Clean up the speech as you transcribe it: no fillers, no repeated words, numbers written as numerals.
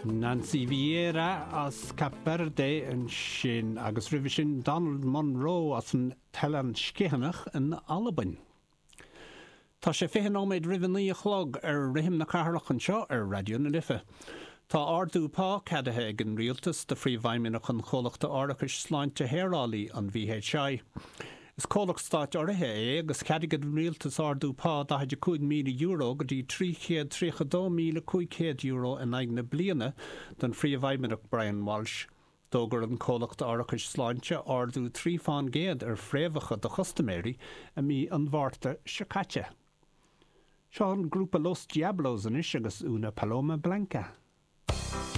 Nancy Vieira as Cape Verde ansin agus roimhe sin Donald Munro as an tOileán Sgitheanach in Albain. Tá sé 20 nóiméad roimh a 9 a chlog ar Rithim na Cathrach anseo ar Raidió na Life. Tá ardú pá ceadaithe ag an Rialtas do Phríomhfheidhmeannach an chomhlachta árachais sláinte shaorálaí, an VHI. Is comhlacht stáit urraithe é agus cheadaigh an Rialtas ardú pá €45,000 go dtí €332,500 in aghaidh na bliana don Phríomhfheidhmeannach Brian Walsh. D'fhógair an comhlacht árachais sláinte ardú 3 fán gcéad ar phréamhacha do chustaiméirí i mí an Mhárta seo caite. Seo an grúpa Los Diablos anois agus Una Paloma Blanca.